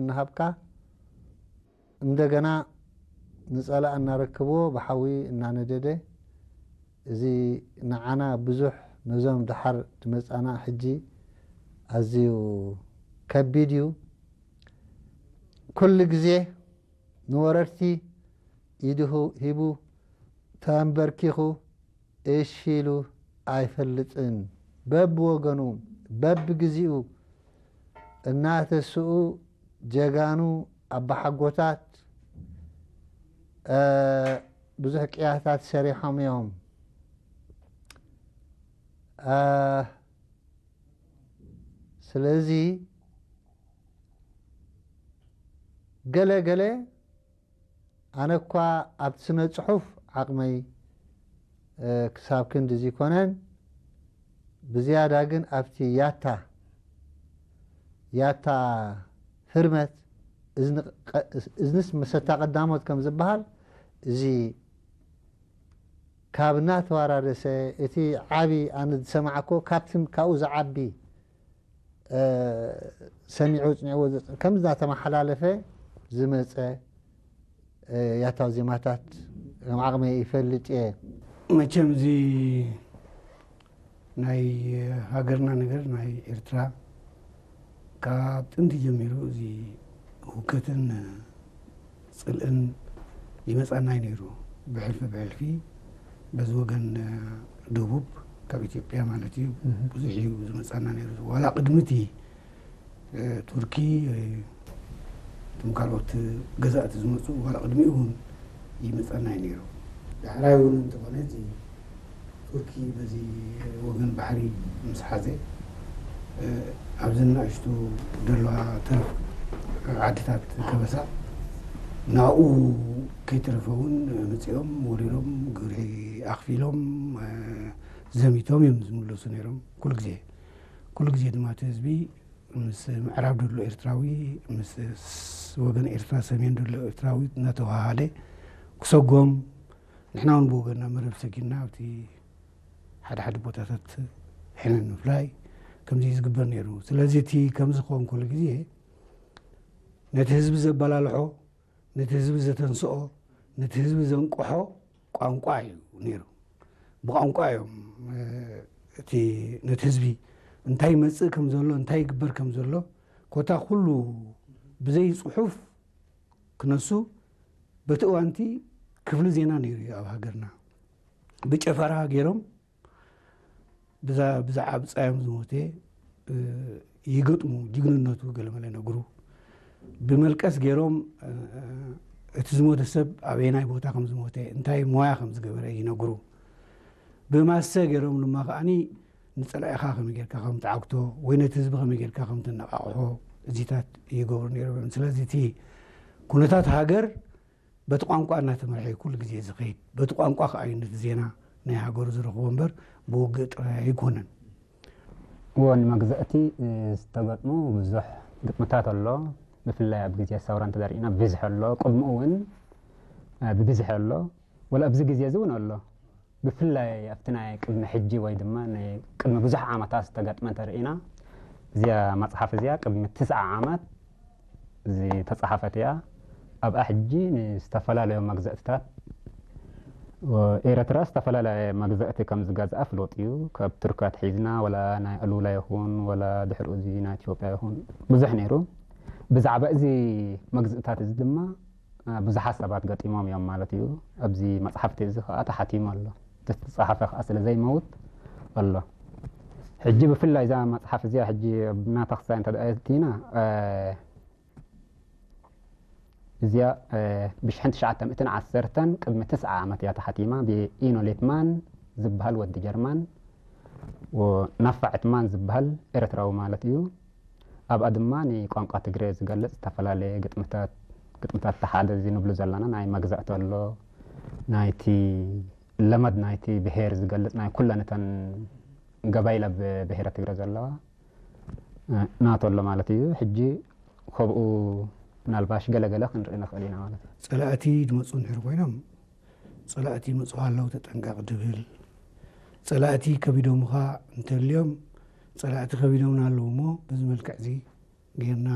እናሃብካ፣ እንደገና ንጸላእ እናረክብዎ ብሓዊ እናነደደ፣ እዚ ንዓና ብዙሕ፣ ነዞም ደሓር ዝመጻና ሕጂ ኣዝዩ ከቢድ እዩ። ኩሉ ግዜ ንወረርቲ ኢዱ ሂቡ፣ ተንበርኪኹ፣ እሺ ኢሉ ኣይፈልጥን። በብወገኑ፣ በብግዚኡ እናተስኡ ጀጋኑ ኣባሓጎታት፣ እ፣ ብዙሕ ቅያታት ሰሪሖም እዮም። እ፣ ስለዚ ገለ ገለ ኣነ እኳ ኣብቲ ስነ ጽሑፍ ዓቕመይ፣ እ፣ ክሳብ ክንዲ ዘይኮነን፣ ብዝያዳ ግን ኣብቲ ያታ፣ ያታ ህርመት፣ እዝኒ ቀ-፣ እዝንስ መሰታ ቀዳሞት ከም ዝበሃል፣ እዚ ካብ እናተወራረሰ፣ እቲ ዓቢ ኣነ ዝሰማዕኮ ካብቲ፣ ካብኡ ዝዓቢ፣ እ፣ ሰሚዑ ጽኒዕዎ ዘጽ-፣ ከም እናተመሓላለፈ ዝመጸ፣ እ፣ ያታዊ ዜማታት ከም ዓቕመይ ይፈልጥ እየ። መቸም እዚ ናይ ሃገርና ነገር፣ ናይ ኤርትራ፣ ካብ ጥንቲ ጀሚሩ እዚ ህውከትን ጽልእን ይመጻና እዩ ነይሩ። ብሕልፊ ብሕልፊ በዚ ወገን ደቡብ ካብ ኢትዮጵያ ማለት እዩ ብዙሕ እዩ ዝመጻና ነይሩ። ዋላ ቅድሚ እቲ እ፣ ቱርኪ፣ እ፣ እቶም ካልኦት ገዛእቲ ዝመጹ ዋላ ቅድሚኡ እውን ይመጸና እዩ ነይሩ። ዳሕራይ እውን እንተኾነ እቲ ቱርኪ በዚ ወገን ባሕሪ ምስ ሓዘ፣ እ፣ ኣብዚ ንኣሽቱ ዘለዋ ተረፍ ዓድታት ከበሳ ናብኡ ከይተረፈ እውን መጺኦም ወሪሮም ግብሪ ኣኽፊሎም፣ እ፣ ዘሚቶም እዮም ዝምለሱ ነይሮም። ኩሉ ግዜ ኩሉ ግዜ ድማ እቲ ህዝቢ ምስ ምዕራብ ዘሎ ኤርትራዊ፣ ምስ ስ-፣ ወገን ኤርትራ ሰሜን ዘሎ ኤርትራዊ እናተዋሃሃደ ክሰጎም፣ ንሕና እውን ብወገንና መረብ ሰጊድና ኣብቲ ሓደ ሓደ ቦታታት ሕነ ንምፍላይ ከምዚ እዩ ዝግበር ነይሩ። ስለዚ እቲ ከምዚ ክኸውን ከሎ ግዜ ነቲ ህዝቢ ዘበላልሖ፣ ነቲ ህዝቢ ዘተንስኦ፣ ነቲ ህዝቢ ዘንቅሖ ቋንቋ እዩ ነይሩ። ብቋንቋ እዮም፣ እ፣ እቲ ነቲ ህዝቢ እንታይ ይመጽእ ከም ዘሎ፣ እንታይ ይግበር ከም ዘሎ፣ ኮታ ኩሉ ብዘይ ጽሑፍ ክነሱ፣ በቲ እዋንቲ ክፍሊ ዜና ነይሩ እዩ ኣብ ሃገርና። ብጨፈራ ገይሮም ብዛ-፣ ብዛዕባ ብጻዮም ዝሞተ፣ እ፣ ይገጥሙ፣ ጅግንነቱ ገለመለ ይነግሩ። ብመልቀስ ገይሮም፣ እ፣ እቲ ዝሞተ ሰብ ኣበየናይ ቦታ ከም ዝሞተ፣ እንታይ ሞያ ከም ዝገበረ ይነግሩ። ብማሰ ገይሮም ድማ ከዓኒ ንጸላኢኻ ከመይ ጌርካ ከም ትዓግቶ ወይ ነቲ ህዝቢ ከመይ ጌርካ ከም ትነቓቕሖ እዚታት ይገብሩ ነይሮም። ስለዚ እቲ ኩነታት ሃገር በቲ ቋንቋ እናተመርሐ እዩ ኩሉ ግዜ ዝኸይድ። በቲ ቋንቋ ከኣ እዩ ነቲ ዜና ናይ ሃገሩ ዝረኽቦ እምበር ብውግእ ጥራይ ኣይኮነን። እዎ፣ ንመግዛእቲ ዝተገጥሙ ብዙሕ ግጥምታት ኣሎ። ብፍላይ ኣብ ግዜ ሰውራ እንተደሪእና ብዝሕ ኣሎ። ቅድሚኡ እውን፣ እ፣ ብብዝሕ ኣሎ። ወላ ኣብዚ ግዜ እዚ እውን ኣሎ። ብፍላይ ኣብቲ ናይ ቅድሚ ሕጂ ወይ ድማ ናይ ቅድሚ ብዙሕ ዓመታት ዝተገጥመ እንተርኢና፣ እዚኣ መጽሓፍ እዚኣ ቅድሚ ትስዓ ዓመት ዝተጻሓፈት እያ። ኣብኣ ሕጂ ንዝተፈላለዩ መግዛእትታት ኤረትራ ዝተፈላለየ መግዛእቲ ከም ዝገዝኣ ፍሉጥ እዩ። ካብ ቱርኪ ኣትሒዝና ወላ ናይ ኣሉላ ይኹን ወላ ድሕሪኡ እዚ ናይ ኢትዮጵያ ይኹን ብዙሕ ነይሩ። ብዛዕባ እዚ መግዝእታት እዚ ድማ ብዙሓት ሰባት ገጢሞም እዮም ማለት እዩ። ኣብዚ መጽሓፍቲ እዚ ከኣ ተሓቲሙ ኣሎ። እቲ ዝተጻሓፈ ከኣ ስለ ዘይመውት ኣሎ። ሕጂ ብፍላይ እዛ መጽሓፍ እዚኣ ሕጂ ኣብ ናታ ክሳይ እንተ ደኣ ኣእቲና፣ እ፣ እዚኣ፣ እ፣ ብሽሕን ትሽዓተ ሚእትን ዓሰርተን ቅድሚ ትስዓ ዓመት እያ ተሓቲማ ብኢኖ ሌትማን ዝበሃል ወዲ ጀርማን፣ ወ-፣ ናፋ ዕትማን ዝበሃል ኤርትራዊ ማለት እዩ። ኣብኣ ድማ ንቋንቋ ትግረ ዝገልጽ ዝተፈላለየ ግጥምታት፣ ግጥምታት እቲ ሓደ እዚ ንብሉ ዘለና ናይ መግዛእቲ ኣሎ፣ ናይቲ ለመድ ናይቲ ብሄር ዝገልጽ ናይ ኩለን እተን ገባይል ኣብ ብሄረ ትግረ ዘለዋ፣ እ፣ ናቶ ኣሎ ማለት እዩ። ሕጂ ከብኡ ምናልባሽ ገለገለ ክንርኢ ንኽእል ኢና ማለት እዩ። ጸላእቲ ዝመጹ እንድሕር ኮይኖም፣ ጸላእቲ ይመጹኻ ኣለዉ ተጠንቀቕ ድብል፣ ጸላእቲ ከቢዶምኻ እንተልዮም፣ ጸላእቲ ከቢዶምና ኣለዉ እሞ፣ በዚ መልክዕ እዚ ጌርና